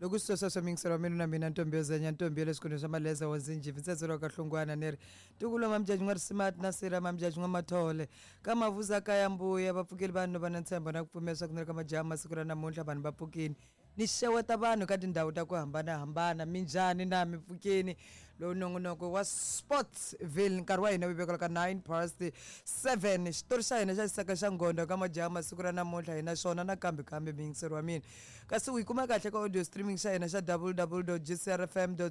Loko swi sweswo miyingiselo wa mina na mina ntombi yo zenya ntombi ya le swikolweni swa maleza wa zinjivi ntsetse ka hlungwana ni ri ntukulu wa mamjaji n'wa risimati na sira mamjaji n'wa mathole ka mavuza kaya mbuya va pfukeli vanhu va na ntshembo na ku pfumela swa ku ni ri ka majaha masiku ra namuntlha vanhu va pfukini ni xeweta vanhu ka tindhawu ta ku hambanahambana. Minjhani na mi pfukeni? Lowu nongonoko wa Sportsville, nkarhi wa hina wu vekela ka 9 past 7. Xitori xa hina xa xisaka xa ngondo ka majaha masiku ra namuntlha hi na xona nakambe kambe miyingiseri wa mina, kasi u yi kuma kahle ka audio streaming xa hina xa www gcrfm co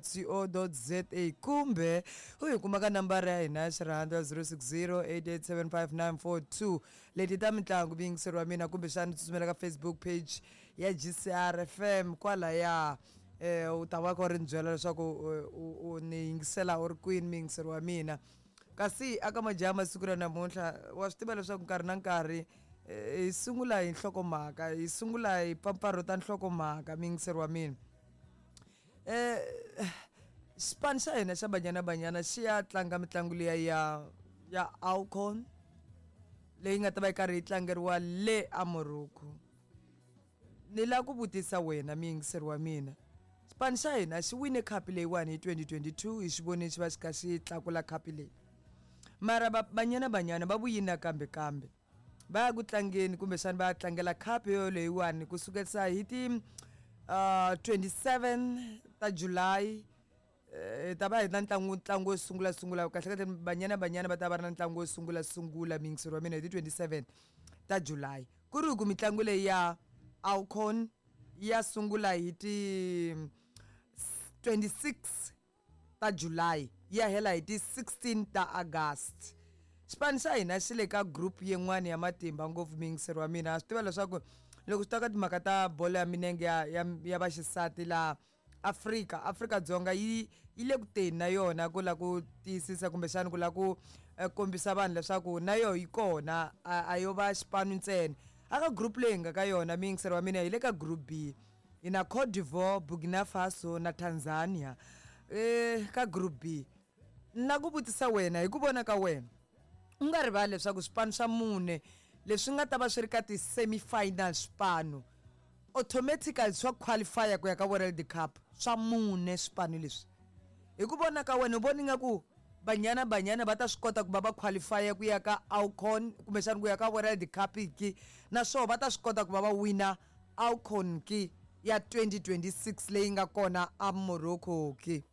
za, kumbe u yi kuma ka nambara ya hina ya xirhandza 060 8875942. Leti ta mitlangu, miyingiseri wa mina, kumbexana tsutsumela ka Facebook page ya GCR FM kwalaya, u ta va kha u ri ni byela leswaku u ni yingisela u ri kwini, miyingiseri wa mina. Kasi aka majaha masiku ra namuntlha, wa swi tiva leswaku nkarhi na nkarhi hi sungula hi nhlokomhaka, hi sungula hi pfapfarhuta nhlokomhaka, miyingiseri wa mina. Xipano xa hina xa Banyana Banyana xi ya tlanga mitlangu liya ya AWCON leyi nga ta va yi karhi yi tlangeriwa le a Morocco. Ni lava ku vutisa wena muyingiseri wa mina, xipano xa hina xi wine khapu leyiwani hi 2022, hi xi vonile xi va xi kha xi tlakula khapu leyi, mara Banyana Banyana va vuyini nakambe kambe va ya ku tlangeni, kumbexana va ya tlangela khapu yo leyiwani kusukela hi ti 27 ta July. Hi ta va hi na ntlangu wo sungula sungula, kahle kahle Banyana Banyana va ta va ri na ntlangu wo sungula sungula, miyingiseri wa mina, hi ti 27 ta July, ku ri ku mitlangu leyi ya AWCON ya sungula hi ti 26 ta July, ya hela hi ti 16 ta August. Xipano xa hina xi le ka group yin'wana ya matimba ngopfu, miyingiseri wa mina. Swi tiva leswaku loko swi ta ka timhaka ta bolo ya milenge ya vaxisati laha Afrika, Afrika-Dzonga yi le ku teni na yona ku lava ku tiyisisa kumbexana ku lava ku kombisa vanhu leswaku na yona yi kona, a yo va xipano ntsena. Aka group leyi nga ka yona, miyingiseri wa mina, hi le ka group B, hi na Cote d'Ivoire, Burkina Faso na Tanzania ka group B. Ni lava ku vutisa wena, hi ku vona ka wena, u nga rivali leswaku swipano swa mune leswi nga ta va swi ri ka ti-semi-final, swipano automatically swa qualify ku ya ka World Cup, swa mune swipano leswi, hi ku vona ka wena, u vona ingaku Banyana Banyana va ta swi kota ku va va qualify ku ya ka AWCON kumbexana ku ya ka World Cup ki, naswona va ta swi kota ku va va wina AWCON ki ya 2026 leyi nga kona a Morocco ki?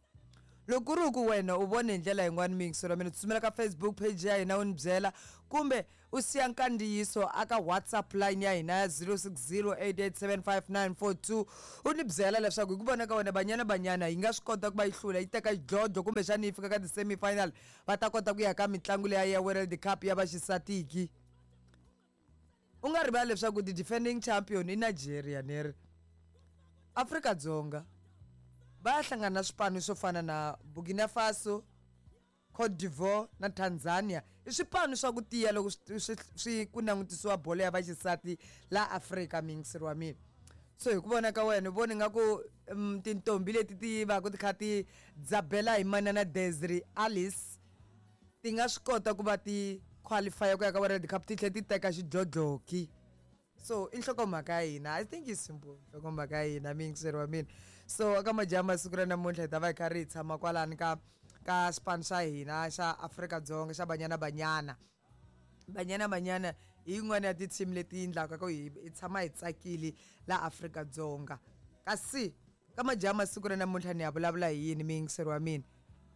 Loko ku ri ku wena u vone hi ndlela yin'wana, miyingiselo wa mina, tsutsumela ka Facebook page ya hina u ni byela, kumbe u siya nkandziyiso aka WhatsApp line ya hina ya 0608875942, u ni byela leswaku hi ku vona ka wena, Banyana Banyana yi nga swi kota ku va yi hlula, yi teka xidlodlo, kumbexana yi fika ka ti-semi-final, va ta kota ku ya ka mitlangu leya ya World Cup ya vaxisatiki? U nga rivali leswaku ti-defending champion i Nigeria, ni ri Afrika-Dzonga va ya hlangana na swipano swo fana na Burkina Faso, Cote d'Ivoire na Tanzania. I swipano swa ku tiya loko swi ku langutisiwa bolo ya vaxisati la Afrika, miyingiseri wa mina. So hi ku vona ka wena, u vona nga ku tintombi leti ti va ku ti kha ti dzabela hi manana Desiree Alice ti nga swi kota ku va ti qualify ku ya ka World Cup, ti tlhela ti teka xidlodloki? So i nhlokomhaka ya hina. I think is simple nhlokomhaka ya hina, miyingiseri wa mina. So aka majaha masiku ra namuntlha hi ta va hi karhi hi tshama kwalani ka xipano xa hina xa Afrika-Dzonga xa Banyana Banyana. Banyana Banyana hi yin'wana ya ti-team leti endlaka ku hi tshama hi tsakile la Afrika-Dzonga. Kasi ka majaha masiku ra namuntlha ni ya vulavula hi yini, miyingiseri wa mina?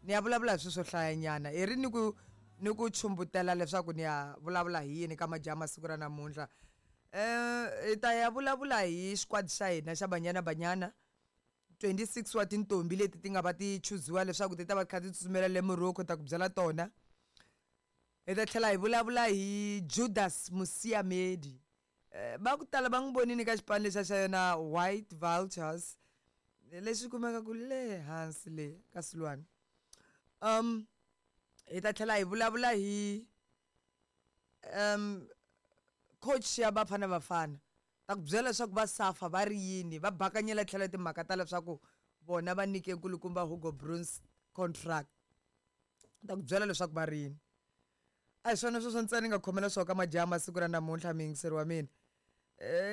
Ni ya vulavula hi swilo swo hlayanyana, hi ri ni ku chumbutela leswaku ni ya vulavula hi yini ka majaha masiku ra namuntlha. Hi ta ya vulavula hi xikwadi xa hina xa Banyana Banyana, 26 wa tintombi leti ti nga va ti chuziwa leswaku ti ta va kha ti tsutsumela le Morocco, ta ku byela tona. Hi ta tlhela hi vulavula hi Judas Moseamedi. Va ku tala va n'wi vonini ka xipano lexa xa yona White Vultures lexi kumekaka le hansi le ka Silwana. Hi ta tlhela hi vulavula hi coach ya Bafana Bafana, ta ku byela leswaku va safa va ri yini, va bakanyela tlhelo timhaka ta leswaku vona va nyike nkulukumba Hugo Broos contract, ta ku byela leswaku va ri yini. A hi swona sweswo ntsena ni nga khomela swona ka majaha masiku ra namuntlha, miyingiseri wa mina.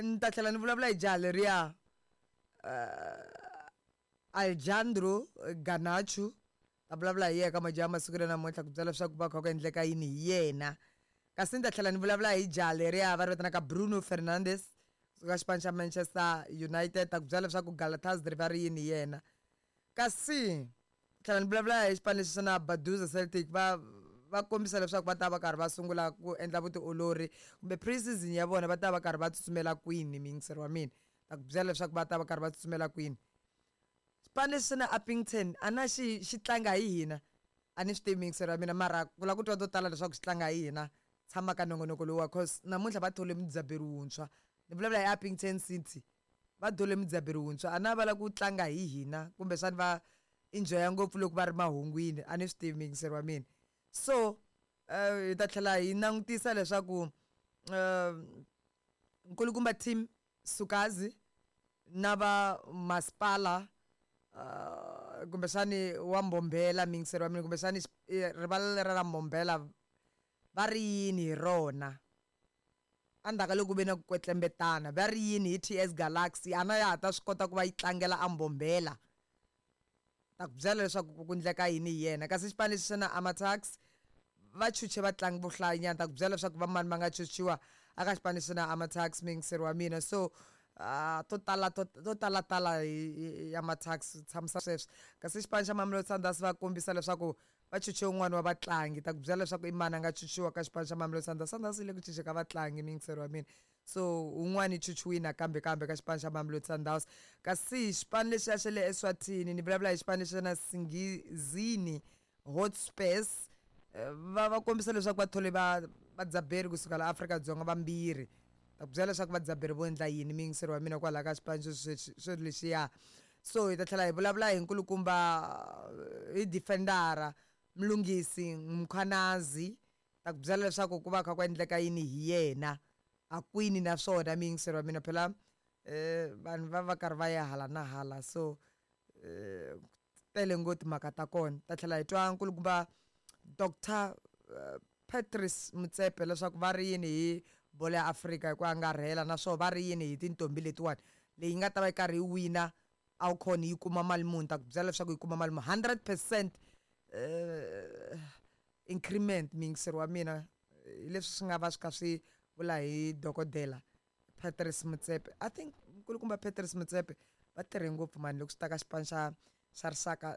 Ni ta tlhela ni vulavula hi jaha leriya. Alejandro Garnacho ta vulavula hi yena ka majaha masiku ya namuntlha ku byela leswaku va kha ku endleka yini hi yena. Kasi ni ta tlhela ni vulavula hi jaha leriya va ri vitanaka Bruno Fernandes kusuka xipano xa Manchester United, ta ku byela leswaku Galatasaray va ri yini hi yena. Kasi tlhela ni vulavula hi xipano lexi xa na Baduza Celtic, va kombisa leswaku va ta va karhi va sungula ku endla vutiolori kumbe pre-season ya vona, va ta va karhi va tsutsumela kwini, muyingiseri wa mina, ta ku byela leswaku va ta va karhi va tsutsumela kwini. Xipano lexi na Upington a na xi tlanga hi hina, a ni swi tivi muyingiseri wa mina, mara ku lava ku twa to tala leswaku xi tlanga hi hina, tshama ka nongonoko lowu, cause namuntlha va thole mudzaberi wuntshwa. Ni vulavula hi Upington City, va thole mudzaberi wuntshwa, a na va lava ku tlanga hi hina kumbexani va enjoya ngopfu loko va ri mahungwini, a ni swi tivi muyingiseri wa mina. So hi ta tlhela hi langutisa leswaku nkulukumba Tim Sukazi na va masipala kumbexani wa Mbombela, muyingiseri wa mina, kumbexani rivala leri ra Mbombela va ri yini hi rona endzhaku ka loko ku ve na ku kwetlembetana, va ri yini hi TS Galaxy, a na ya ha ta swi kota ku va yi tlangela a Mbombela, ta ku byela leswaku ku endleka yini hi yena. Kasi xipano lexi xa na Amatax va chuche vatlangi vo hlayanyana, ta ku byela leswaku va mani va nga chuchiwa aka xipano lexi na Amatax, muyingiseri wa mina. So to tala to tala tala hi Amatax, tshamisa sweswo. Kasi xipano xa Mamelodi Sundowns va kombisa leswaku va chuche un'wana wa vatlangi, ta ku byela leswaku i mani a nga chuchiwa ka xipano xa Mamelodi Sundowns. Sundowns yi le ku chuche ka vatlangi, muyingiseri wa mina, so un'wana i chuchiwile nakambe kambe ka xipano xa Mamelodi Sundowns. Kasi xipano lexiya xa le Eswatini, ni vulavula hi xipano lexiya na Singizini Hotspurs, va kombisa leswaku va thole va vadzaberi kusuka la Afrika-Dzonga vambirhi, ta ku byela leswaku vadzaberi vo endla yini, muyingiseri wa mina, kwalaho ka xipano xo lexiya. So hi ta tlhela hi vulavula hi nkulukumba hi defendera Mlungisi Mkhwanazi, ta ku byela leswaku ku va kha ku endleka yini hi yena a kwini naswona, muyingiseri wa mina. Phela vanhu va karhi va ya hala na hala, so tele ngopfu timhaka ta kona. Ta tlhela hi twa nkulukumba Dr Patrice Motsepe leswaku va ri yini hi bolo ya Afrika hi ku angarhela, naswona va ri yini hi tintombi letiwani, leyi nga ta va yi karhi yi wina AWCON yi kuma mali muni, ta ku byela leswaku yi kuma mali muni, 100% increment, muyingiseri wa mina, hi leswi swi nga va swi kha swi vula hi dokodela Patrice Motsepe. I think nkulukumba Patrice Motsepe va tirhe ngopfu mani loko swi ta ka xipano xa rixaka,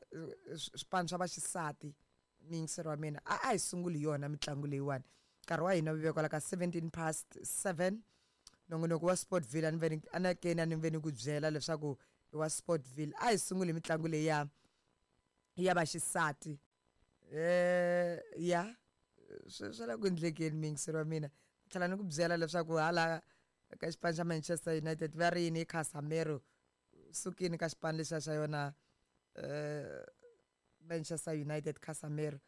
swipano swa vaxisati, muyingiseri wa mina. A hi sunguli hi yona mitlangu leyiwani, nkarhi wa hina wu ve kwala ka 7:17. Nongonoko wa Sportville, a ni ve ni anakeni a ni ve ni ku byela leswaku i wa Sportville. A hi sunguli hi mitlangu leyi ya vaxisati. Ya swi le ku endlekeni, muyingiseri wa mina. Tlhela ni ku byela leswaku hala ka xipano xa Manchester United va ri yini hi Casemiro, sukini ka xipano lexiya xa yona Manchester United Casemiro.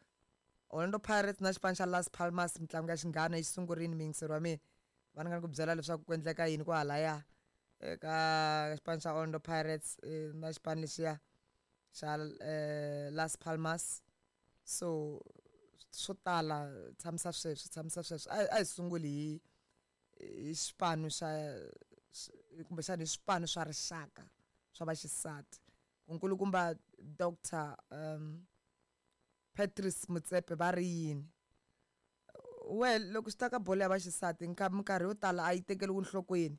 Orlando Pirates na xipano xa Las Palmas, mitlangu ya xinghana yi sungurile, muyingiseri wa mina, va ni nga ku byela leswaku ku endleka yini kwahalaya eka xipano xa Orlando Pirates na xipano lexiya xa Las Palmas. So swo tala, tshamisa sweswo, tshamisa sweswo. A hi sunguli hi xipano xa kumbexana hi swipano swa rixaka swa vaxisati. Nkulukumba Dr Patrice Motsepe va ri yini? Well, loko swi ta ka bolo ya vaxisati, minkarhi yo tala a yi tekeriwi enhlokweni,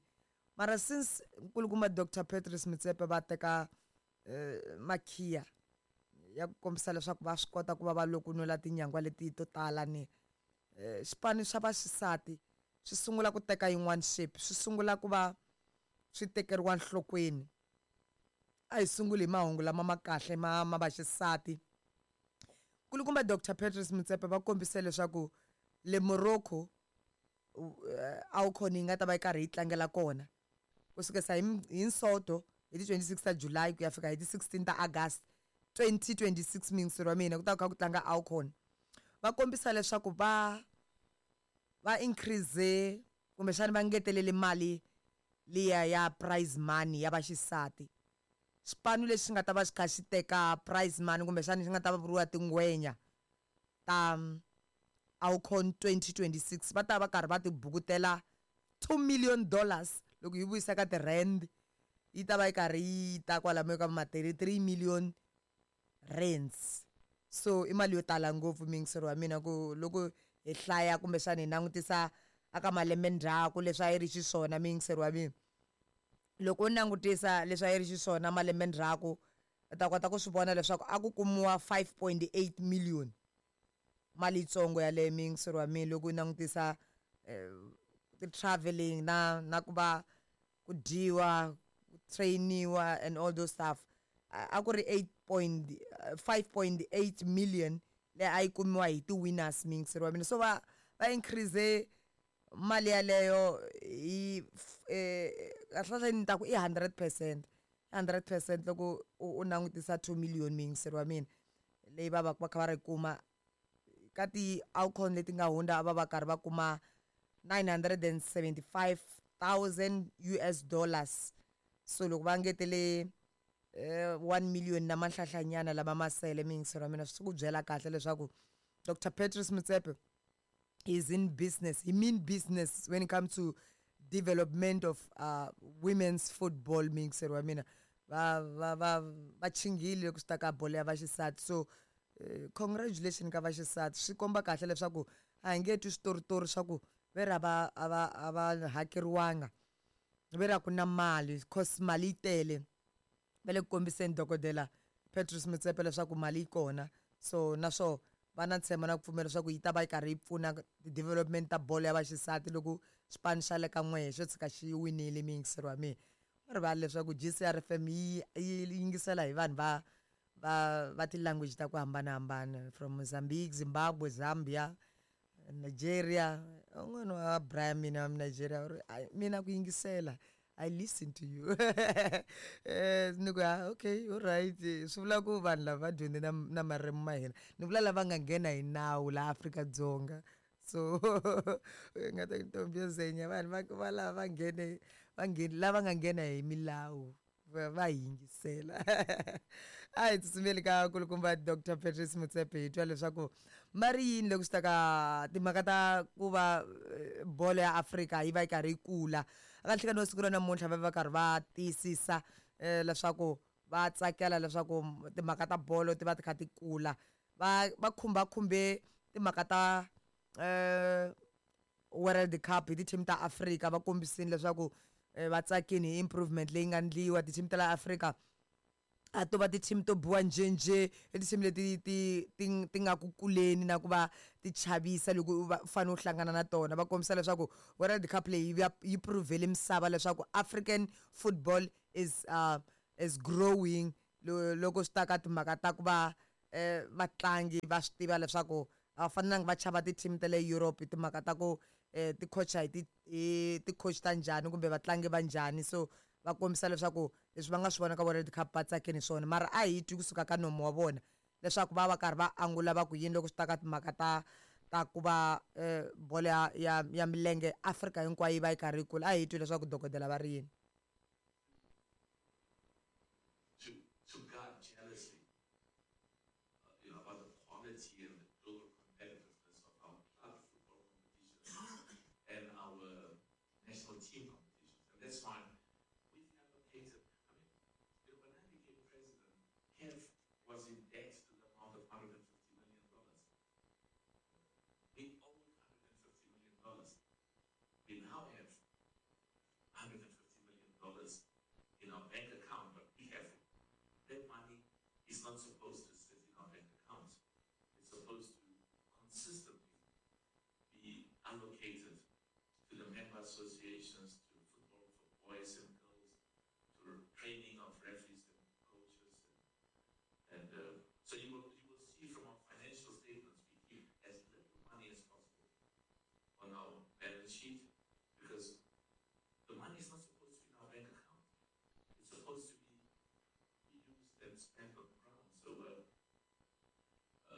mara since nkulukumba Dr Patrice Motsepe va teka makhiya ya ku kombisa leswaku va swi kota ku va va lokunula tinyangwa leti to tala ni xipano xa vaxisati swi sungula ku teka yin'wana shape, swi sungula ku va swi tekeriwa enhlokweni. A hi sunguli hi mahungu lama ma kahle ma vaxisati. Nkulukumba Dr Patrice Motsepe va kombise leswaku le Morocco AWCON yi nga ta va yi karhi yi tlangela kona kusukela hi Nsoto hi ti 26 ta July ku ya fika hi ti 16 ta August 2026, muyingiseri wa mina, ku ta kha ku tlanga AWCON. Va kombisa leswaku va increase kumbexana va ngetelele mali liya ya prize money ya vaxisati. Xipano lexi nga ta va xi kha xi teka prize money kumbexana xi nga ta va vuriwa tingwenya ta AWCON 2026, va ta va karhi va ti bukutela $2 million, loko hi vuyisa ka ti-rand. yi ta va yi karhi yi ta kwalamo ka ma 33 million rands. So i mali yo tala ngopfu muyingiseri wa mina ku loko hi hlaya kumbexana hi langutisa aka malembe ndzhaku leswi a yi ri xiswona muyingiseri wa mina. Loko u langutisa leswi a yi ri xiswona malembe ndzhaku u ta kota ku swi vona leswaku a ku kumiwa 5.8 million mali yitsongo yaleyo muyingiseri wa mina loko u langutisa ti-travelling na ku va ku dyiwa ku trainiwa and all those stuff. A ku ri 5.8 million leyi a yi kumiwa hi ti-winners muyingiseri wa mina. So va increase mali yaleyo hi kahlekahle ni ta ku i 100%, 100% loko u langutisa 2 million muyingiseri wa mina leyi va va va kha va ri kuma ka ti-AWCON leti nga hundza a va va karhi va kuma 975,000 US dollars. So loko va ngetele 1 million na manhlahlanyana lama ma sele muyingiseri wa mina swi ku byela kahle leswaku Dr Patrice Motsepe is in business. He mean business when it comes to development of women's football muyingiseri wa mina. Va chingile loko swi ta ka bolo ya vaxisati. So congratulations ka vaxisati. Swi komba kahle leswaku a hi nge twi switoritori swa ku ve ri a va hakeriwanga, ve ri a ku na mali, cause mali yi tele. Va le ku kombiseni dokodela Patrice Motsepe leswaku mali yi kona. So naswo va na ntshembo na ku pfumela leswaku yi ta va yi karhi yi pfuna ti-development ta bolo ya vaxisati loko xipano xa le ka n'wehe xo tshika xi winile muyingiseri wa mina. U rivali leswaku GCR FM yi yingisela hi vanhu va ti-language ta ku hambanahambana from Mozambique, Zimbabwe, Zambia, Nigeria. Un'wana wa Brian mina wa Nigeria u ri mina ku yingisela I listen to you. Ni ku okay, all right. Swi vula ku vanhu lava va dyondze na marimi ma hina. Ni vula lava nga nghena hi nawu laha Afrika-Dzonga. So nga ta ntombi yo zenya vanhu va lava va nghene va nghene lava nga nghena hi milawu va yingisela. A hi tsutsumeli ka kulukumba Dr Patrice Motsepe hi twa leswaku ma ri yini loko swi ta ka timhaka ta ku va bolo ya Afrika yi va yi karhi yi kula. Aka nhlekani wa siku ra namuntlha va va karhi va tiyisisa leswaku va tsakela leswaku timhaka ta bolo ti va ti kha ti kula. Va khumbakhumbe timhaka ta World Cup hi ti-team ta Afrika. Va kombisile leswaku va tsakini hi improvement leyi nga ndliwa ti-team ta la Afrika. A to va ti-team to biwa njhenjhe, i ti-team leti ti nga ku kuleni na ku va ti chavisa loko u va fanele u hlangana na tona. Va kombisa leswaku World Cup leyi yi prove-le misava leswaku African football is growing loko swi ta ka timhaka ta ku va vatlangi va swi tiva leswaku a va fanelanga va chava ti-team ta le Europe hi timhaka ta ku ti-coach hi ti-coach ta njhani kumbe vatlangi va njhani. So va kombisa leswaku leswi va nga swi vona ka World Cup va tsakini swona. Mara a hi twi kusuka ka nomu wa vona leswaku va va karhi va angula va ku yini loko swi ta ka timhaka ta ku va bolo ya milenge Afrika hinkwayo yi va yi karhi yi kula. A hi twi leswaku dokodela va ri yini. To guard jealously, about the quality and the global competitiveness of our club football competitions and our national team competitions. And that's why we've allocated, I mean, when I became president, CAF was in debt to the amount of $150 million. We owed $150 million. We now have $150 million in our bank account, but be careful. That money is not supposed to sit in our bank accounts. It's supposed to consistently be allocated to the member associations, to football for boys and girls, to training of referees and coaches. And so you will see from our financial statements, we keep as little money as possible on our balance sheet because the money is not supposed to be in our bank account. It's supposed to be used and spent on the ground. So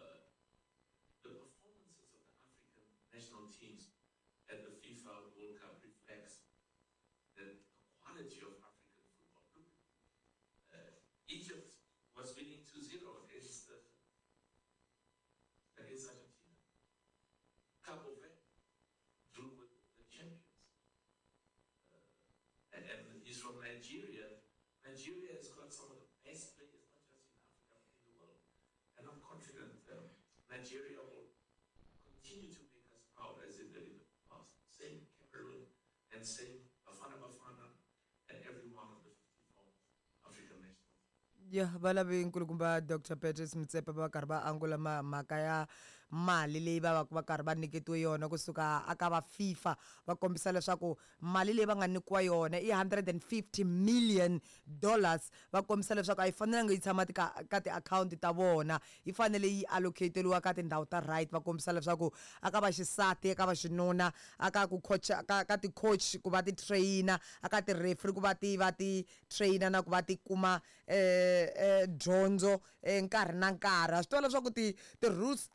the performances of the African national teams at the FIFA World Cup reflects the quality of African football. Look, Egypt was winning 2-0 against Argentina. Cabo Verde drew with the champions. And he's from Nigeria. Nigeria will continue to make us proud as it did in the past. Same Cameroon and same Bafana Bafana and every one of the 54 African nationals. Ya va lavi nkulukumba Dr Patrice Motsepe va karhi va angula mhaka ya mali leyi va va va karhi va nyiketiwe yona kusuka aka va FIFA. Va kombisa leswaku mali leyi va nga nyikiwa yona i $150 million. Va kombisa leswaku a yi fanelanga yi tshama ka tiakhawunti ta vona, yi fanele yi allocateriwa ka tindhawu ta right. Va kombisa leswaku aka va xisati, eka va xinuna, aka ku coach, ka ti-coach ku va ti-trainer, aka ti-referee ku va ti va ti-trainer na ku va ti kuma dyondzo nkarhi na nkarhi. Ha swi tiva leswaku ti-rules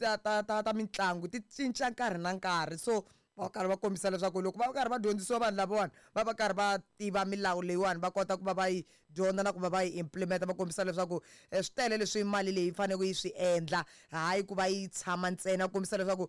ta mitlangu ti cinca nkarhi na nkarhi, so va karhi va kombisa leswaku loko va karhi va dyondzisiwa vanhu lavawani, va va karhi va tiva milawu leyiwani, va kota ku va va yi dyondza na ku va va yi implementa. Va kombisa leswaku swi tele leswi mali leyi faneleke yi swi endla, hayi ku va yi tshama ntsena. Kombisa leswaku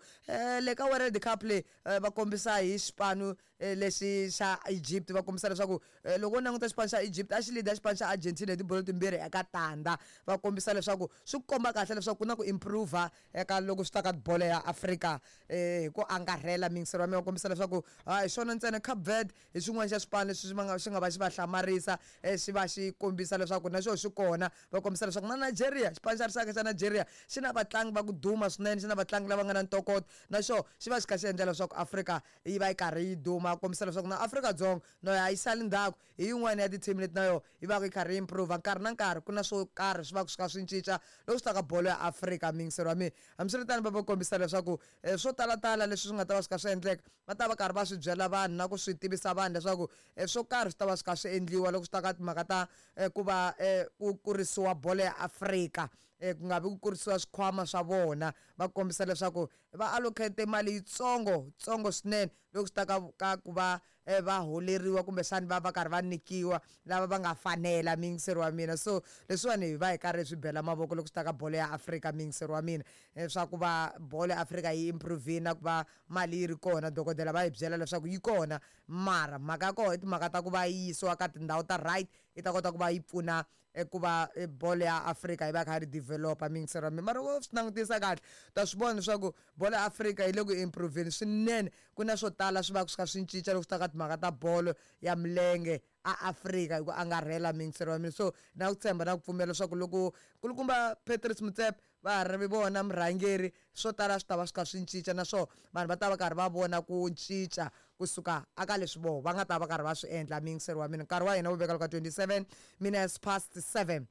le ka World Cup leyi, va kombisa hi xipano lexi xa Egypt. Va kombisa leswaku loko u languta xipano xa Egypt, a xi leader xipano xa Argentina hi tibolo 2-0. Va kombisa leswaku swi komba kahle leswaku ku na ku improve eka loko swi ta ka bolo ya Afrika hi ku angarhela. Miyingiselo wa mina, va kombisa leswaku hi swona ntsena, Cape Verde hi xin'wana xa swipano leswi swi nga va xi va hlamarisa, xi va xi kombisa leswaku na xona xi kona. Va kombisa leswaku na Nigeria, xipano xa rixaka xa Nigeria, xi na vatlangi va ku duma swinene, xi na vatlangi lava nga na ntokoto, na xona xi va xi kha xi endla leswaku Afrika yi va yi karhi yi duma. Kombisa leswaku na Afrika-Dzonga no a yi sali ndzhaku, hi yin'wana ya ti-team leti na yona yi va yi karhi yi improve nkarhi na nkarhi. Ku na swo karhi swi va swi kha swi cinca loko swi ta ka bolo ya Afrika, miyingiselo wa mina. Hambiswiritano, va va kombisa leswaku swo talatala leswi swi nga ta va swi kha swi endleka, va ta va karhi va swi byela vanhu na ku swi tivisa vanhu leswaku swo karhi swi ta va swi kha swi endliwa loko swi ta ka timhaka ta ku va ku kurisiwa bolo ya Afrika, ku nga vi ku kurisiwa swikhwama swa vona. Va kombisa leswaku va allocate mali yitsongo tsongo swinene loko swi ta ka ku va va holeriwa, kumbexani va va karhi va nyikiwa lava va nga fanela, miyingiseri wa mina. So leswiwani hi va hi karhi hi swi bela mavoko loko swi ta ka bolo ya Afrika, miyingiseri wa mina, swa ku va bolo ya Afrika yi improve na ku va mali yi ri kona. Dokodela va hi byela leswaku yi kona, mara mhaka ya kona i timhaka ta ku va yi yisiwa ka tindhawu ta right, yi ta kota ku va yi pfuna ku va bolo ya Afrika yi va kha ri developa, miyingiseri wa mina. Mara wo swi langutisa kahle, ta swi vona leswaku bolo ya Afrika yi le ku improveni swinene. Ku na swo tala swi va swi kha swi cinca loko swi ta ka timhaka ta bolo ya milenge a Afrika hi ku angarhela, miyingiseri wa mina. So na ku tshemba na ku pfumela leswaku loko nkulukumba Patrice Motsepe va ha ri vona murhangeri, swo tala swi ta va swi kha swi cinca, naswona vanhu va ta va karhi va vona ku cinca kusuka aka leswi voho va nga ta va karhi va swi endla, miyingiseri wa mina. Nkarhi wa hina wu veka loko 27 minutes past 7.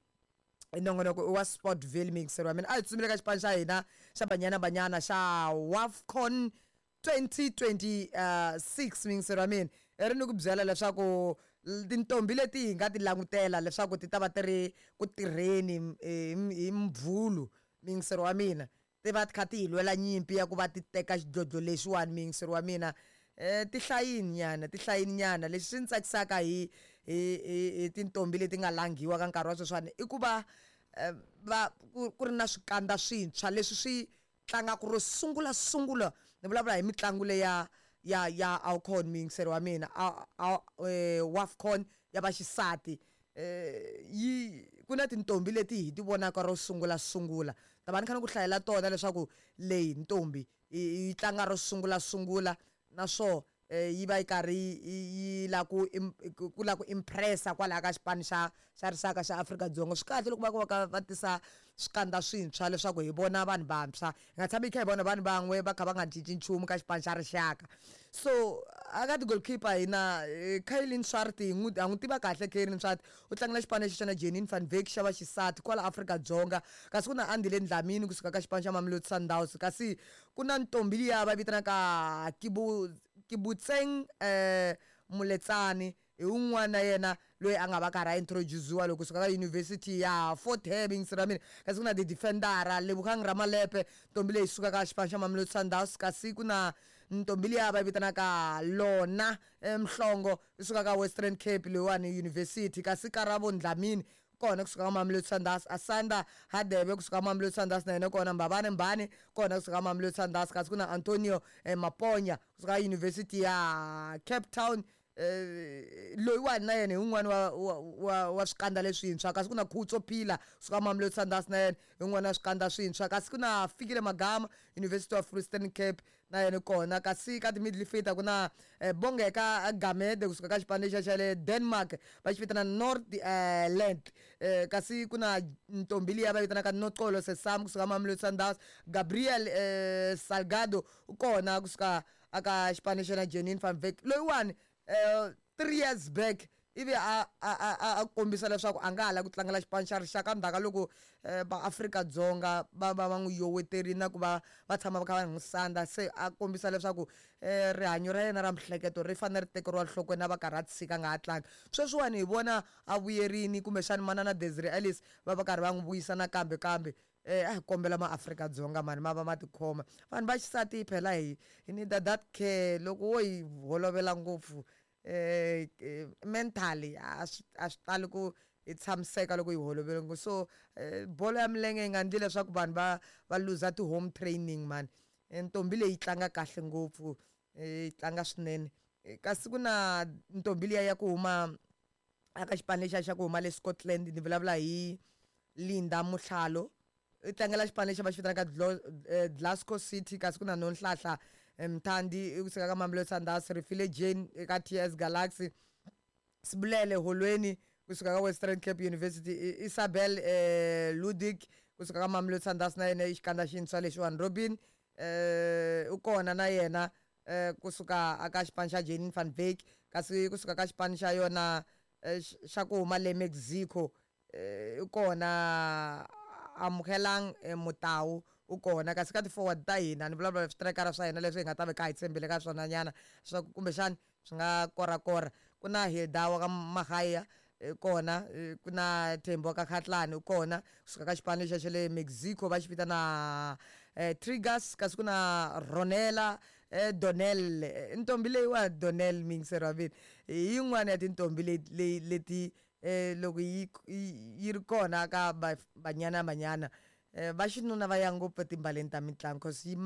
Nongonoko i wa Sportville, miyingiseri wa mina. A hi tsutsumile ka xipano xa hina xa Banyana Banyana xa WAFCON 2026, miyingiseri wa mina. I ri ni ku byela leswaku tintombi leti hi nga ti langutela leswaku ti ta va ti ri ku tirheni hi Mvhulu, miyingiseri wa mina, ti va ti kha ti hi lwela nyimpi ya ku va ti teka xidlodlo lexiwani, miyingiseri wa mina, ti hlayini nyana, ti hlayini nyana. Lexi swi ni tsakisaka hi tintombi leti nga langhiwa ka nkarhi wa sweswiwani i ku va va ku ri na swikandza swintshwa leswi swi tlangaka ro sungula sungula. Ni vulavula hi mitlangu leya ya AWCON, miyingiseri wa mina, WAFCON ya vaxisati. Yi ku na tintombi leti hi ti vonaka ro sungula sungula. Ta va ni kha ni ku hlayela tona leswaku leyi ntombi yi tlanga ro sungula sungula, naswo yi va yi karhi yi la ku la ku impressa kwalaya ka xipano xa rixaka xa Afrika-Dzonga. Swi kahle loko va ku va va tisa swikandza swintshwa leswaku hi vona vanhu vantshwa, hi nga tshami hi kha hi vona vanhu van'we va kha va nga cinci nchumu ka xipano xa rixaka. So aka ti-goalkeeper hi na Kaylin Swart. Hi n'wi ha n'wi tiva kahle Kaylin Swart, u tlangela xipano lexi xa na Janine van Wyk xa vaxisati kwala Afrika-Dzonga. Kasi ku na Andile Dlamini kusuka ka xipano xa Mamelodi Sundowns. Kasi ku na ntombi liya va vitanaka Kibutseng Moletsane, hi wun'wana na yena loyi a nga va karhi a introduce-iwa loko kusuka ka University ya Fort Hare, miyingiseri wa mina. Kasi ku na ti-defendera, Lebogang Ramalepe, ntombi leyi suka ka xipano xa Mamelodi Sundowns. Kasi ku na ntombi liya va vitanaka Lona Mhlongo, yi suka ka Western Cape leyiwani University. Kasi Karabo Dlamini kona kusuka ka Mamelodi Sundowns, Asanda Hadebe kusuka ka Mamelodi Sundowns na yena kona, Mbabane Mbane kona kusuka ka Mamelodi Sundowns. Kasi ku na Antonio Maponya kusuka ka University ya Cape Town. Loyiwani na yena hi wun'wani wa swikandza leswintshwa. Kasi ku na Khutso Phila kusuka Mamelodi Sundowns, na yena hi wun'wani wa swikandza swintshwa. Kasi ku na Fikile Magama, University of Western Cape, na yena kona. Kasi ka ti-midfielder ku na Bongeka Gamede kusuka ka xipano lexiya xa le Denmark, va xi vitana North Land. Kasi ku na ntombi liya va vitanaka Noxolo Sesam kusuka Mamelodi Sundowns. Gabriel Salgado u kona kusuka aka xipano xa na Janine van Wyk. Loyiwani 3 years back ivi a kombisa leswaku a nga ha lavi ku tlangela xipano xa rixaka, ndzhaku ka loko va Afrika-Dzonga va n'wi yoweterile na ku va va tshama va kha va n'wi sandza. Se a kombisa leswaku rihanyo ra yena ra miehleketo ri fanele ri tekeriwa enhlokweni, a va karhi a tshika a nga ha tlangi. Sweswiwani hi vona a vuyerini, kumbexani manana Desiree Ellis va va karhi va n'wi vuyisa nakambe. Kambe a hi kombela maAfrika-Dzonga mani ma va ma tikhoma. Vanhu va xisati phela hi need that care. Loko wo hi holovela ngopfu mentally a swi tali ku hi tshamiseka loko hi holovele ngopfu. So bolo ya milenge yi nga endli leswaku vanhu va luza ti-home training mani. Ntombi leyi tlanga kahle ngopfu, yi tlanga swinene. Kasi ku na ntombi liya ya ku huma aka xipano lexiya xa ku huma le Scotland, ni vulavula hi Linda Motlhalo, i tlangela xipano lexi va xi vitanaka Glasgow City. Kasi ku na Nonhlahla Mthandi kusuka ka Mamelodi Sundowns, Rifile Jane eka TS Galaxy, Sibulele Holweni kusuka ka Western Cape University, Isabel Ludik kusuka ka Mamelodi Sundowns, na yena i xikandza xintshwa lexiwani. Robin u kona na yena kusuka aka xipano xa Janine van Wyk. Kasi kusuka ka xipano xa yona xa ku huma le Mexico, u kona Amukelang Motau u kona. Kasi ka ti-forward ta hina, ni vulavula switrayikara swa hina leswi hi nga ta va kha hi tshembele ka swona nyana swa ku kumbexani swi nga korakora, ku na Hilda wa ka Mahaya kona, ku na Thembi wa ka Khatlani u kona kusuka ka xipano lexiya xa le Mexico va xi vitana Triggers. Kasi ku na Ronela Donel, ntombi leyiwa Donel miyingiseri wa mina, hi yin'wana ya tintombi leti loko yi ri kona ka Banyana Banyana, va xinuna va ya ngopfu etimbaleni ta mitlangu, cause yi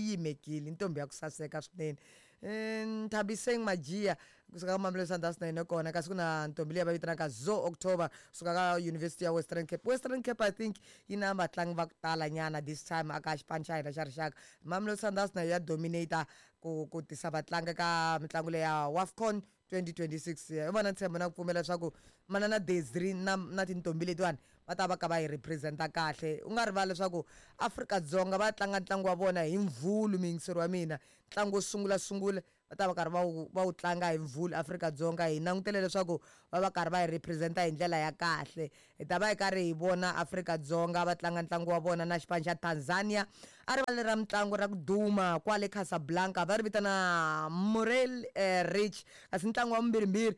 yimekile, ntombi ya ku saseka swinene. Nthabiseng Majiya kusuka ka Mamelodi Sundowns na yena kona. Kasi ku na ntombi leyi va vitanaka Zo October kusuka ka University ya Western Cape. Western Cape, I think, yi na vatlangi va ku tala nyana this time aka xipano xa hina xa rixaka. Mamelodi Sundowns na ya dominate ku tisa vatlangi ka mitlangu leyi ya WAFCON 2026. Hi vona ntshembo na ku pfumela leswaku manana Desiree na tintombi letiwani va ta va ka va hi representa kahle. U nga rivali leswaku Afrika-Dzonga va tlanga ntlangu wa vona hi Mvhulu, miyingiseri wa mina. Ntlangu wo sungula sungula va ta va karhi va wu tlanga hi Mvhulu. Afrika-Dzonga hi langutele leswaku va va karhi va hi representa hi ndlela ya kahle. Hi ta va hi karhi hi vona Afrika-Dzonga va tlanga ntlangu wa vona na xipano xa Tanzania a rivaleni ra mitlangu ra ku duma kwale Casablanca, va ri vitana Morel Rich. Kasi ntlangu wa vumbirhimbirhi,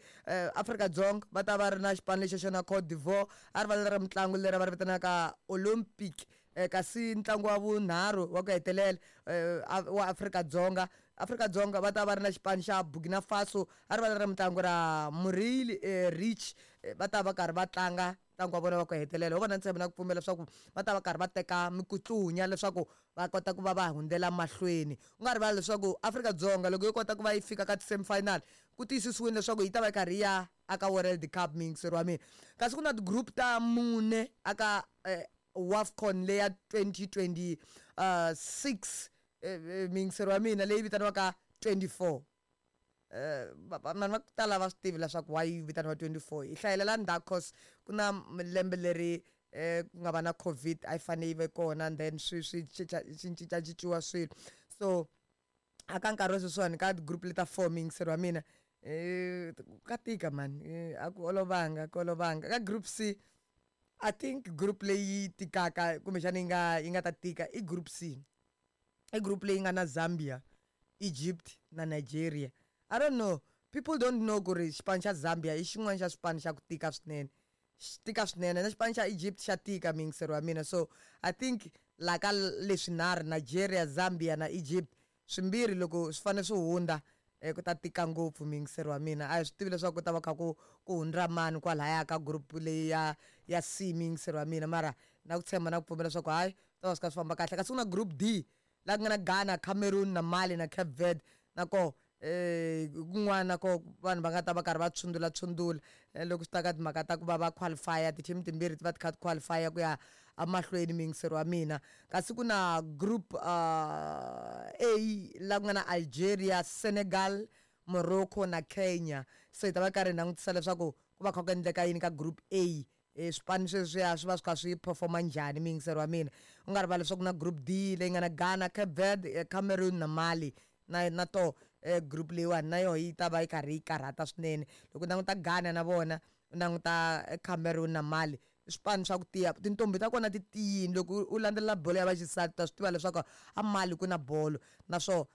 Afrika-Dzonga va ta va ri na xipano lexi xa na Cote d'Ivoire a rivaleni ra mitlangu leri va ri vitanaka Olympic. Kasi ntlangu wa vunharhu wa ku hetelela wa Afrika-Dzonga, Afrika-Dzonga va ta va ri na xipano xa Burkina Faso a rivaleni ra mitlangu ra Muril Rich. Va ta va karhi va tlanga ntlangu wa vona wa ku hetelela. Ho vona ntshembo na ku pfumela leswaku va ta va karhi va teka mikutlunya leswaku va kota ku va va hundzela mahlweni. U nga rivali leswaku Afrika-Dzonga loko yi kota ku va yi fika ka ti-semifinal, ku tiyisisiwile leswaku yi ta va yi karhi yi ya aka World Cup, miyingiseri wa mina. Kasi ku na ti-group ta mune aka WAFCON leya 2026, miyingiseri wa mina, leyi vitaniwaka 24. Vanhu va ku tala va swi tivi leswaku why yi vitaniwa 24. Hi hlayelela ndzhaku cause ku na lembe leri ku nga va na COVID, a yi fanele yi ve kona, and then swi cincacinciwa swilo. So aka nkarhi wa sweswiwani, ka ti-group leta four, miyingiseri wa mina, ka tika man, a ku olovanga, ku olovanga. Ka group C, I think group leyi tikaka, kumbexana yi nga ta tika, i group C. I group leyi nga na Zambia, Egypt na Nigeria. I don't know, people don't know ku ri xipano xa Zambia i xin'wana xa swipano xa ku tika swinene, xi tika swinene. Na xipano xa Egypt xa tika, miyingiseri wa mina. So I think la ka leswinharhu, Nigeria, Zambia na Egypt, swimbirhi loko swi fanele swi hundza, ku ta tika ngopfu, miyingiseri wa mina. A hi swi tivi leswaku ku ta va kha ku hundza mani kwalaya ka group leyi ya C, miyingiseri wa mina. Mara na ku tshemba na ku pfumela leswaku hayi, ta va swi kha swi famba kahle. Kasi ku na group D, la ku nga na Ghana, Cameroon na Mali na Cape Verde na koho. Kun'wana ko vanhu va nga ta va karhi va tshundula tshundula loko swi ta ka timhaka ta ku va va qualify ti-team timbirhi ti va ti kha ti qualify ku ya emahlweni, muyingiseri wa mina. Kasi ku na group A la ku nga na Algeria, Senegal, Morocco na Kenya. Se hi ta va karhi hi langutisa leswaku ku va kha ku endleka yini ka group A, swipanu sweswiya swi va swi kha swi performa njhani, muyingiseri wa mina. U nga rivali leswaku na group D leyi nga na Ghana, Cape Verde, Cameroon na Mali. Na to group leyiwani na yoho yi ta va yi karhi yi karhata swinene. Loko u languta Ghana na vona, u languta Cameroon na Mali, i swipanu swa ku tiya, tintombi ta kona ti tiyini. Loko u landzelela bolo ya vaxisati, ta swi tiva leswaku a Mali ku na bolo, naswona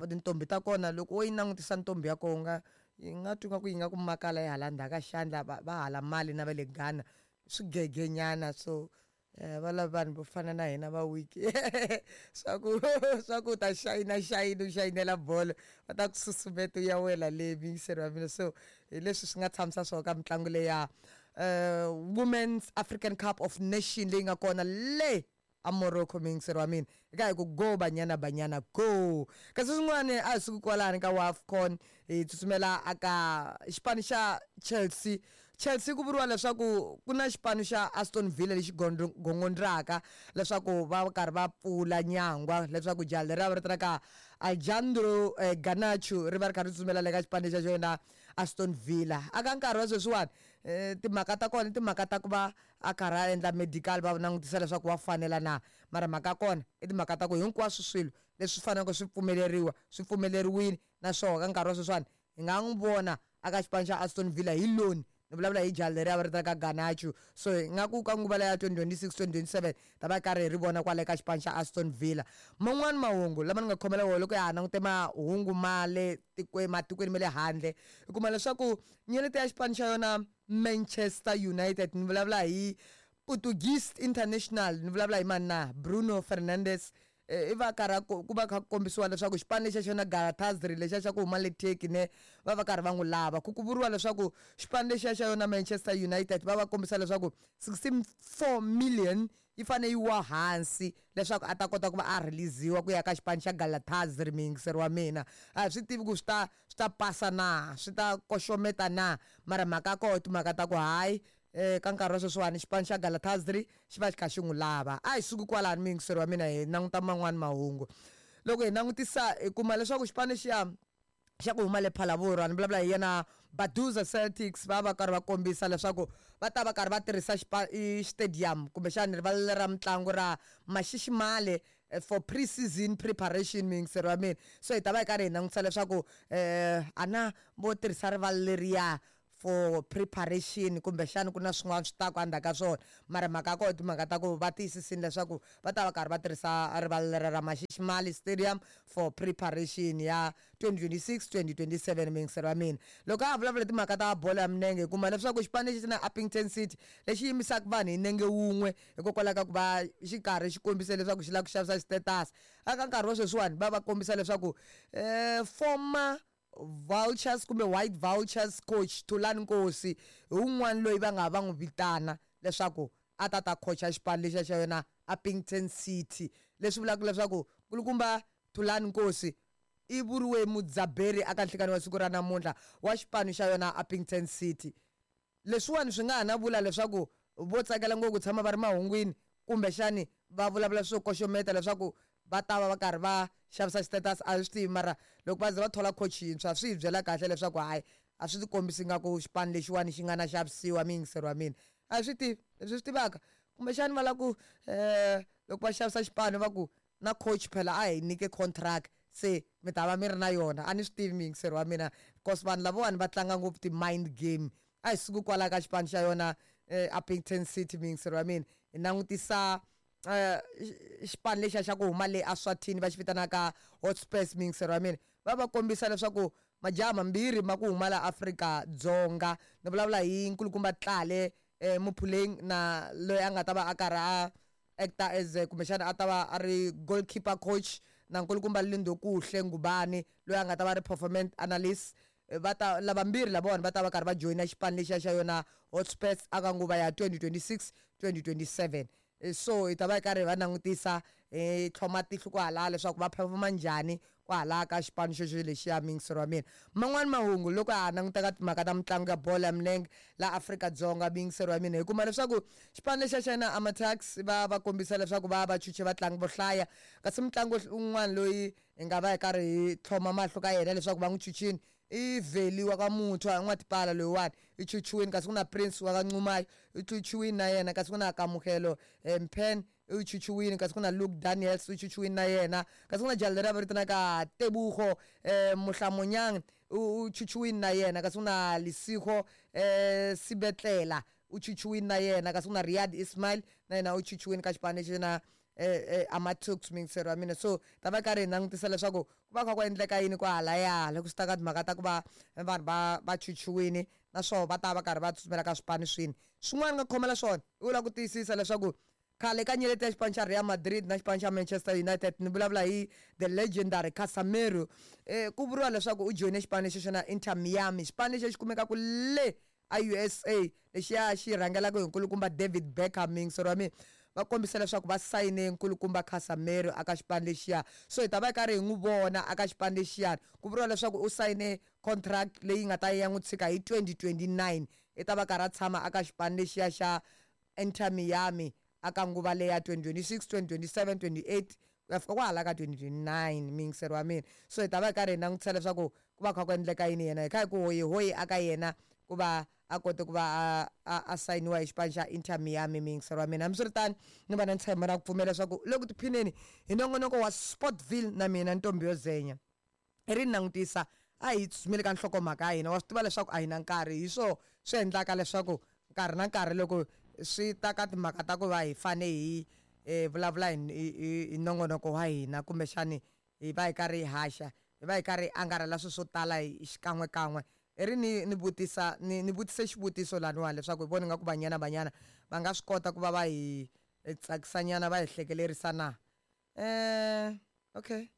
tintombi ta kona, loko wo yi langutisa ntombi ya kona, nga yi nga twi nga ku yi nga ku makala yi hala ndzhaku ka xandla. Va hala Mali na va le Ghana swigegenyana, so va lava vanhu vo fana na hina va weak, swa ku ta xayina xayina, u xayinela bolo, va ta ku susumeta u ya wela le, muyingiseri wa mina. So hi leswi swi nga tshamisa swona ka mitlangu leya Women's African Cup of Nation leyi nga kona le a Morocco, muyingiseri wa mina. Eka hi ku go Banyana Banyana go! Kasi swin'wana a hi suki kwalani ka WAFCON, hi tsutsumela aka xipano xa Chelsea. Chelsea, ku vuriwa leswaku ku na xipano xa Aston Villa lexi gongondzaka leswaku va karhi va pfula nyangwa leswaku jaha leri va vitanaka Alejandro Garnacho ri va ri kha ri tsutsumela le ka xipano xa xona Aston Villa. Aka nkarhi wa sweswiwani, timhaka ta kona i timhaka ta ku va a karhi a endla medical, va langutisa leswaku wa fanela na. Mara mhaka ya kona i timhaka ta ku hinkwaswo swilo leswi faneleke swi pfumeleriwa swi pfumeleriwile, naswona ka nkarhi wa sweswiwani hi nga n'wi vona aka xipano xa Aston Villa hi loan. Ni vulavula hi jaha leri a va ri ka Garnacho. So hi nga ku ka nguva leya 2026 2027 ta va karhi hi ri vona kwale ka xipano xa Aston Villa. Man'wani mahungu lama ni nga khomela wona, loko ya ha langute mahungu ma le tikweni, matikweni ma le handle, hi kuma leswaku nyeleti ya xipano xa yona Manchester United, ni vulavula hi Portuguese international, ni vulavula hi mani na? Bruno Fernandes. I va karhi ku va kha ku kombisiwa leswaku xipano lexi xa xona Galatasaray, lexiya xa ku huma le Turkey ne, va va karhi va n'wi lava. Ku vuriwa leswaku xipano lexiya xa yona Manchester United va va kombisa leswaku 64 million yi fane yi wa hansi leswaku a ta kota ku va a release-iwa ku ya ka xipano xa Galatasaray, muyingiseri wa mina. A hi swi tivi ku swi ta pasa na, swi ta koxometa na, mara mhaka ya koho timhaka ta ku hayi, ka nkarhi wa sweswiwani xipano xa Galatasaray xi va xi kha xi n'wi lava. A hi suki kwalani, muyingiseri wa mina, hi languta man'wani mahungu. Loko hi langutisa, hi kuma leswaku xipano xiya xa ku huma le Phalaborwa, ni vulavula hi yena Baduza Celtics, va va karhi va kombisa leswaku va ta va karhi va tirhisa i stadium kumbexani rivala ra mitlangu ra Mashishimale for pre-season preparation, muyingiseri wa mina. So hi ta va hi karhi hi langutisa leswaku ana vo tirhisa rivala leriya for preparation, kumbexani ku na swin'wana swi taku endzhaku ka swona. Mara mhaka ya kona timhaka ta ku va tiyisisini leswaku va ta va karhi va tirhisa rivala leri ra Mashishimale Stadium for preparation ya 2026 2027, muyingiseri wa mina. Loko a ha vulavula timhaka ta bolo ya minenge, hi kuma leswaku xipano lexi na Upington City lexi yimisaka vanhu hi nenge wun'we hikokwalaho ka ku va xi karhi xi kombise leswaku xi lava ku xavisa status, aka nkarhi wa sweswiwani va va kombisa leswaku former Vultures kumbe White Vultures coach Thulani Nkosi hi wun'wana loyi va nga va n'wi vitana leswaku a ta ta coacha xipano lexiya xa yona Upington City, leswi vulaka leswaku nkulukumba Thulani Nkosi i vuriwe mudzaberi aka nhlikani wa siku ra namuntlha wa xipano xa yona Upington City. Leswiwani swi nga ha na vula leswaku vo tsakela ngopfu ku tshama va ri mahungwini, kumbexani va vulavula swo koxometa leswaku va ta va va karhi va xavisa status, a hi swi tivi. Mara loko va ze va thola coach yintshwa, swi hi byela kahle leswaku hayi, a swi ti kombisi nga ku xipano lexiwani xi nga na xavisiwa, muyingiseri wa mina. A hi swi tivi. Leswi swi tivaka, kumbexani va lava ku loko va xavisa xipano va ku na coach phela a hi nyike contract, se mi ta va mi ri na yona. A ni swi tivi, muyingiseri wa mina, cause vanhu lavawani va tlanga ngopfu ti-mind game. A hi suki kwala ka xipano xa yona Upington City, muyingiseri wa mina, hi langutisa xipano lexiya xa ku huma le Eswatini va xi vitanaka Hotspurs, muyingiseri wa mina. Va kombisa leswaku majaha mambirhi ma ku huma la Afrika-Dzonga, ni vulavula hi nkulukumba Tlale Muphuleng na loyi a nga ta va a karhi a acta as kumbexana a ta va a ri goalkeeper coach, na nkulukumba Lindokuhle Ngubane loyi a nga ta va ri performance analyst. Va ta lavambirhi lavawani va ta va karhi va joyina xipano lexiya xa yona Hotspurs aka nguva ya 2026 2027. So hi ta va hi karhi hi va langutisa, hi tlhoma tihlo kwahala leswaku va performa njhani. Kwalaya ka xipano xexo lexiya, muyingiseri wa mina. Man'wani mahungu loko ha languta ka timhaka ta mitlangu ya bolo ya milenge la Afrika-Dzonga, muyingiseri wa mina, hi kuma leswaku xipano lexiya xa yena Amatax va va kombisa leswaku va va chuche vatlangi vo hlaya, kasi mutlangi un'wana loyi hi nga va hi karhi hi tlhoma mahlo ka yena leswaku va n'wi chuchini i Veli wa ka Muthwa N'watipala, loyiwani i chuchiwini, kasi ku na Prince wa ka Ncumayo i chuchiwini na yena, kasi ku na Kamugelo Mphen i chuchiwini, kasi ku na Luke Daniels u chuchiwini na yena, kasi ku na jali leri va vitanaka Tebugo Mohlamonyang u chuchiwini na yena, kasi ku na Lisigo Sibetlela u chuchiwini na yena, kasi ku na Riyad Ismail na yena u chuchiwini ka xipano lexi na Amatuks, muyingiseri wa mina. So ta va karhi hi langutisa leswaku ku va kha ku endleka yini kwahalaya loko swi ta ka timhaka ta ku va vanhu va chuchiwini, naswona va ta va karhi va tsutsumela ka swipano swini swin'wana. Nga khomela swona i vula ku tiyisisa leswaku khale ka nyeleti ya xipano xa Real Madrid na xipano xa Manchester United, ni vulavula hi the legendary Casemiro, ku vuriwa leswaku u joyine xipano lexi xa Inter Miami, xipano lexi xi kumekaka le a USA, lexiya xi rhangelaka hi nkulukumba David Beckham. Muyingiseri wa mina, va kombisa leswaku va sayine nkulukumba Casemiro aka xipano lexiya, so hi ta va hi karhi hi n'wi vona aka xipano lexiyani. Ku vuriwa leswaku u sayine contract leyi nga ta ya n'wi tshika hi 2029, i ta va karhi a tshama aka xipano lexiya xa Inter Miami aka nguva leya 2026, 2027, 28 ku ya fika kwahala ka 2029, muyingiseri wa mina. So hi ta va hi karhi hi langutisa leswaku ku va kha ku endleka yini yena, hi kha hi ku hoyihoyi aka yena ku va a kote ku va a sayiniwa hi xipano xa Inter Miami, muyingiseri wa mina. Hambiswiritano, ni va na ntshembo na ku pfumela leswaku loko tiphineni hi nongonoko wa Sportville na mina Ntombi yo Zenya. Hi ri langutisa, a hi tsutsumeli ka nhlokomhaka ya hina. Wa swi tiva leswaku a hi na nkarhi, hi swo swi endlaka leswaku nkarhi na nkarhi loko swi ta ka timhaka ta ku va hi fane hi vulavula hi nongonoko wa hina, kumbexani hi va hi karhi hi haxa, hi va hi karhi hi angarhela swilo swo tala hi xikan'wekan'we. I ri ni vutisa ni vutise xivutiso laniwani leswaku hi vona nga ku Banyana Banyana va nga swi kota ku va va hi tsakisanyana, va hi hlekelerisa na. Okay,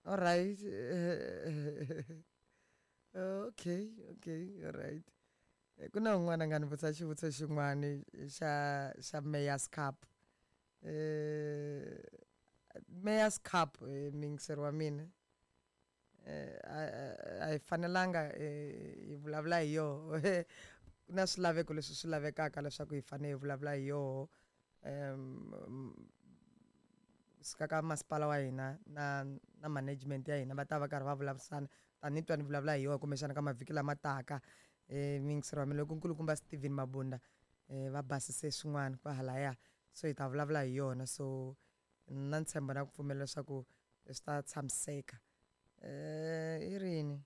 all right, okay, all right. Ku na un'wana a nga ni vutisa xivutiso xin'wani xa Mayor's Cup, Mayor's Cup. Muyingiseri wa mina, a hi fanelanga hi vulavula hi yoho. Ku na swilaveko leswi swi lavekaka leswaku hi fanele hi vulavula hi yoho suka ka masipala wa hina na management ya hina, va ta va karhi va vulavurisana. Tani twa ni vulavula hi yoho kumbexana ka mavhiki lama taka, muyingiseri wa mina, loko nkulukumba Steven Mabunda va basise swin'wana kwahalaya, so hi ta vulavula hi yona. So na ntshembo na ku pfumela leswaku swi ta tshamiseka. I rini?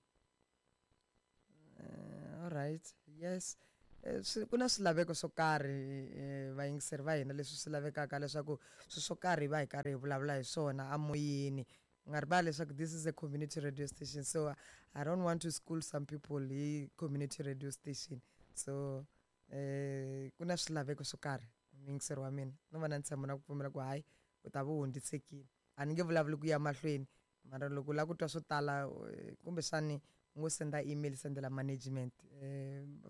All right, yes. Ku na swilaveko swo karhi, vayingiseri va hina, leswi swi lavekaka leswaku swilo swo karhi hi va hi karhi hi vulavula hi swona amoyeni. U nga rivali leswaku this is a community radio station, so I don't want to school some people hi community radio station. So ku na swilaveko swo karhi, muyingiseri wa mina. No va na ntshembo na ku pfumela ku hayi, u ta va u hundzisekile. A ni nge vulavuli ku ya mahlweni, mara loko u lava ku twa swo tala, kumbexani u ngo senda email, sendela management,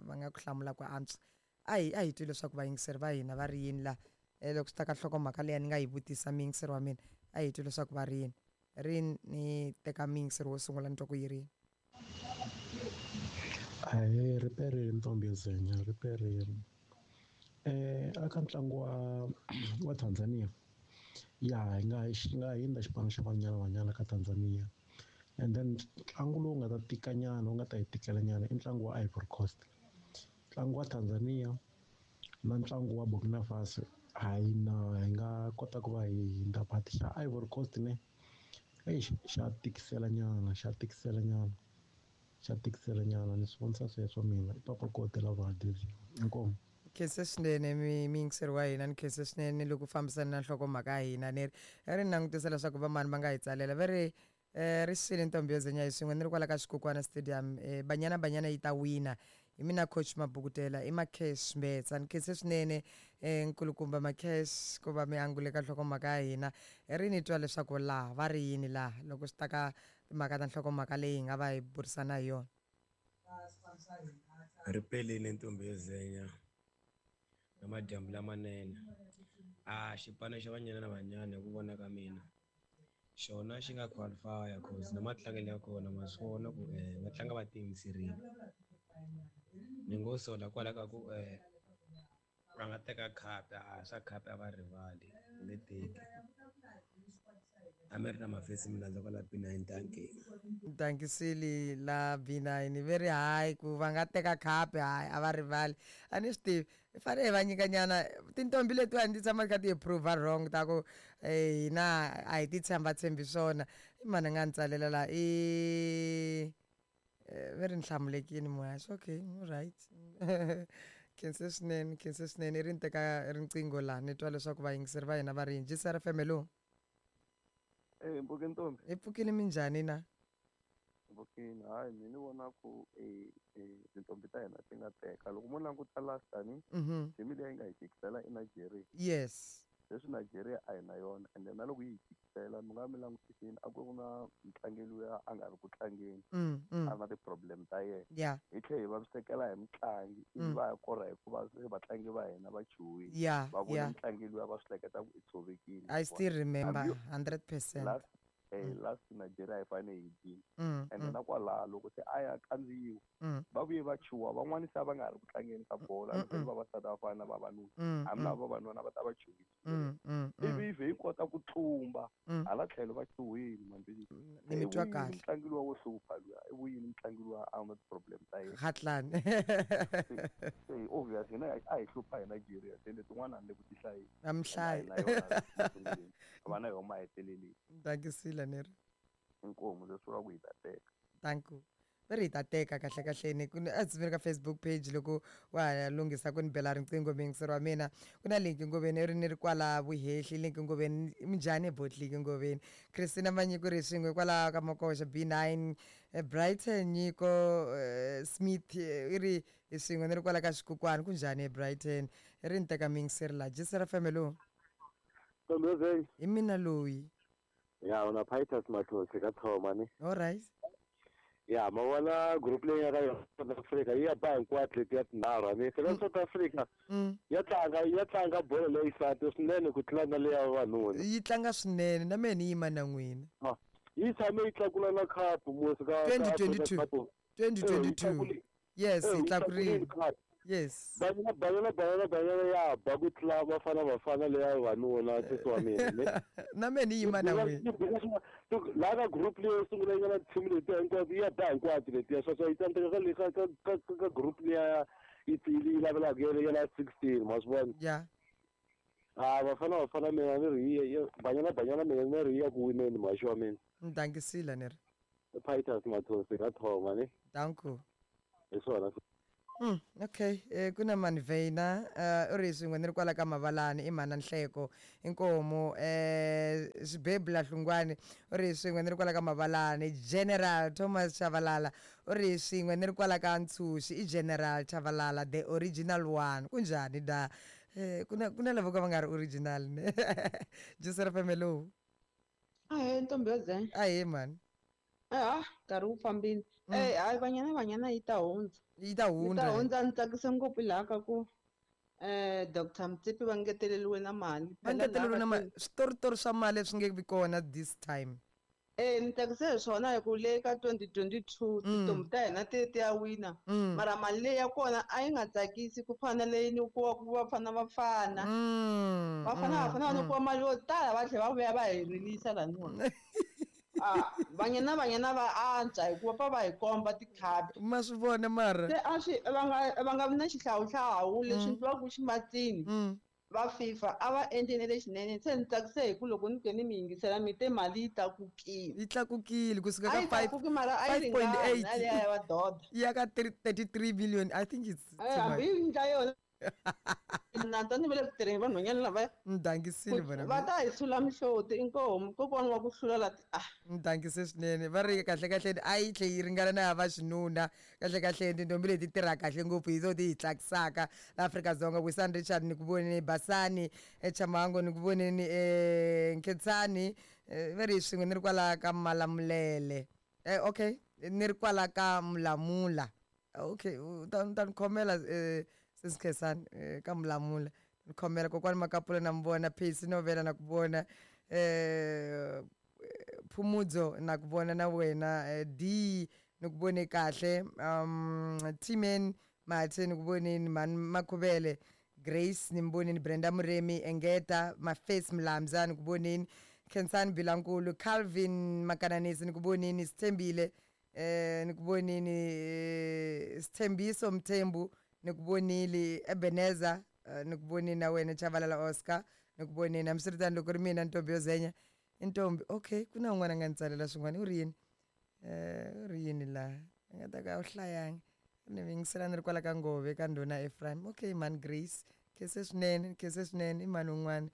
va nga ku hlamula ku antswa. A hi twi leswaku vayingiseri va hina va ri yini la loko swi ta ka nhlokomhaka leyi ni nga yi vutisa, muyingiseri wa mina. A hi twi leswaku va ri yini. Ri ni teka muyingiseri wo sungula, ni twa ku yi ri yini. Ahee, ri perile ntombi yo zenya, ri perile. Aka ntlangu wa Tanzania ya hi nga hindza xipano xa Banyana Banyana ka Tanzania, and then ntlangu lowu nga ta tika nyana, wu nga ta hi tikela nyana, i ntlangu wa Ivory Coast. Ntlangu wa Tanzania na ntlangu wa Burkina Faso, hayi na hi nga kota ku va hi hindza, but xa Ivory Coast ne, eish, xa tikisela nyana, xa tikisela nyana, xa tikisela nyana. Ni swi vonisa sweswo mina. I Papa Kotela Valdezia, inkomu. Khense swinene, muyingiseri wa hina. Ni khense swinene loko fambisana na nhlokomhaka ya hina. Ni ri ri ni langutisa leswaku vamani va nga hi tsalela. Va ri ri xile ntombi yo zenya hi swin'we, ni ri kwala ka Xikukwana Stadium. Banyana Banyana yi ta wina. Hi mina coach Mabukutela, i Macash Mbetsa. Ni khense swinene, nkulukumba Macash, ku va mi angule ka nhlokomhaka ya hina. Ri ni twa leswaku laha va ri yini laha loko swi ta ka timhaka ta nhlokomhaka leyi hi nga va hi burisana hi yona. Ri pelile ntombi yo zenya na madyambu lamanene. A xipano xa Banyana na Banyana, hi ku vona ka mina, Xona xi nga qualify cause na matlangelo ya kona ma swi vona ku va tlanga va tiyimiserile. Ni ngo sola kwala ka ku va nga teka khapu a swa khapu a va rivali nge teki. A mi ri na mavhesi mi landza kwala B9 dankie. Dankisile la B9 very high ku va nga teka khapu hayi a va rivali a ni swi tivi hi fanele hi va nyikanyana tintombi letiwani ti tshama ti kha ti hi prove wrong ta ku hina a hi ti tshembatshembi swona i mani a nga ni tsalela la i ve ri ni hlamulekini muhaxi okay right khense swinene khense swinene i ri ni teka riqingho laha ni twa leswaku vayingiseri va hina va ri yini GCR FM hello. Eh, mbuke ntombi. Hi pfukile minjhani na? Mbukini, hayi mina ni vona ku tintombi ta hina ti nga teka. Loko mo languta last tani, team leyi nga hi tikisela i Nigeria. Yes. Leswi Nigeria a hi na yona ende na loko yi hi tikisela mi nga mi langutisini a ku ri na mutlangi luya a nga ri ku tlangeni. A ri na ti-problem ta yena. Hi tlhela hi vavisekela hi mutlangi ivi va ya kora hikuva se vatlangi va hina va chuhile. Va vone mutlangi luya va swi hleketa ku i tshovekile. I still remember 100%. Last last Nigeria hi fanele hi dyile. Ende na kwalaho loko se a ya kandziyiwa va vuye va chuha van'wani se a va nga ha ri ku tlangeni ka bolo a ni vavasati va fana na vavanuna hambi lava vavanuna va ta va chuhile. Ivi yi vhe yi kota ku tlumba hala tlhelo va chuhile mambili. Ni mi twa kahle. Mutlangi luwa wo hlupha luya i vuyini mutlangi luwa a na ti-problem ta yena. Khatlani. Se obvious hina a hi hlupha hi Nigeria se letin'wana a ni le ku ti hlayeni. A mi hlayi. Va na yona maheteleleni. Dankisile ni ri. Inkomu leswi vulaka ku hi ta teka. Thank you. Va ri hi ta teka kahle kahleni ku a ndzi ka Facebook page loko wa ha lunghisa ku ni bela riqingho muyingiseri wa mina ku na Linki Ngoveni i ri ni ri kwala Vuhehli Linki Ngoveni minjhani bot Linki Ngoveni Christina Manyiko ri swin'we kwalaho ka Makoxa B9 Brighton Nyiko Smith i ri hi swin'we ni ri kwala ka Xikukwani ku njhani eBrighton i ri ni teka muyingiseri laha Jisera FM hello. Hi mina loyi. Ya una Titus Mathosi ka Thoma ni. All right. Ya ma vona group leyi nga ka yona South Africa yi ya ba hinkwato letiya tinharhu ni phela South Africa ya tlanga bolo leyi xisati swinene ku tlula na leya vavanuna. Yi tlanga swinene na mehe ni yima na n'wina. Yi tshame yi tlakula na cup musi ka 2022. 2022. Yes, yi tlakurile. Yes. Banyana banyana banyana banyana ya ba ku tlula Bafana Bafana leya vavanuna sesi wa mina. Na mehe ni yima na n'wina. Laha ka group leyo sungula yi nga na team letiya hinkwato yi ya ba hinkwato letiya swa swa yi tsandzeka ka le ka ka ka ka group liya yi yi lavelaka ya la 16 ma swi vona. Yeah. Ah Bafana Bafana mina ni ri yi Banyana Banyana mina ni ri ya ku wineni mhaxi wa mina. Ni dankisile ni ri. Titus Mathosi ka Thoma ni. Danko. Hi swona. Okay ku na Manveina u ri swin'we ni ri kwala ka Mavalani i mhana Nhleko inkomu Xibebula Hlungwani u ri swin'we ni ri kwala ka Mavalani General Thomas Chavalala u ri swin'we ni ri kwala ka Ntshuxi i General Chavalala the original one kunjhani da ku na lava ka va nga ri original ne Joseph hello. Ahee ntombi yo zenga. Ahee mhani. Ah, nkarhi wu fambile. Hayi Banyana Banyana yi ta hundza. Yi ta hundza. Yi ta hundza ni tsakise ngopfu laha ka ku Dr. Motsepe va ngeteleriwe na mali. Va ngeteleriwe na mali. Switoritori swa mali leswi nge vi kona this time. Ni tsakise hi swona hi ku le ka 2022 tintombi ta hina ti ti ya wina. Mara mali leyi ya kona a yi nga tsakisi ku fana na leyi nyikiwaka Bafana Bafana. Bafana Bafana va nyikiwa mali yo tala va tlhela va vuya va hi rilisa laniwa. Ah, Banyana Banyana va antswa hikuva va va hi komba tikhapi. Ma swi vona mara. Se a swi va nga vi na xihlawuhlawu leswi endliwaka ximatsini. Va FIFA a va endli na lexinene se ni tsakise hi ku loko ni ke ni mi yingisela mi te mali yi tlakukile. Yi tlakukile kusuka ka 5.8 na liya ya vadoda. Yi ya ka 33 billion I think it's too much. Hambi yi endla yona. Na ta ni va le ku tirheni vanhwanyana lavaya. Ni dankisile vona. Va ta hi sula mihloti inkomu kokwana wa ku hlula la ah. Ni dankise swinene va ri kahle kahle a yi tlhe yi ringana na ya vaxinuna kahle kahle tintombi leti tirha kahle ngopfu hi to ti hi tlakisaka la Afrika-Dzonga Wisani Richard ni ku voneni Basani Chamango ni ku voneni Nkhensani va ri swin'we ni ri kwala ka Malamulele okay ni ri kwala ka Mulamula okay u ta ni khomela sesi Khensani ka Mulamula ni khomela kokwani Makapula na mi vona Phesi Novela na ku vona Phumudzo na ku vona na wena D ni ku vone kahle Tman Mathe ni ku voneni mhani Makhuvele Grace ni mi voneni Brenda Muremi Engeta Mafesi Mlamza ni ku voneni Khensani Bilankulu Calvin Makananisi ni ku voneni Sithembile ni ku vonini Sithembiso Mthembu ni ku vonile Ebeneza ni ku vonini na wena Chavalala Oscar ni ku vonini hambiswiritano loko ri mina ntombi yo zenya i ntombi okay ku na un'wana a nga ni tsalela swin'wana u ri yini u ri yini laha a nga ta ka a wu hlayanga ni mi yingisela ni ri kwala ka ngove ka ndhuna Ephraim okay mhani Grace khense swinene khense swinene i mhani un'wana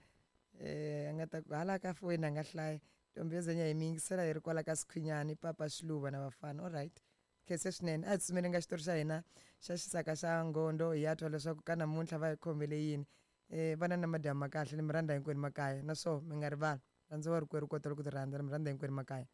a nga ta ku hala ka foyini a nga hlaya ntombi yo zenya hi mi yingisela hi ri kwala ka Sikhwinyani papa Xiluva na vafana alright khense swinene a hi tsutsumeli nga xitori xa hina xa xisaka xa ngondo hi ya twa leswaku ka namuntlha va hi khomele yini vana na madyambu ma kahle ni mi rhandza hinkwenu makaya naswo mi nga rivali rhandza wa rikwerhu kota loko ti rhandza ni mi rhandza hinkwenu makaya.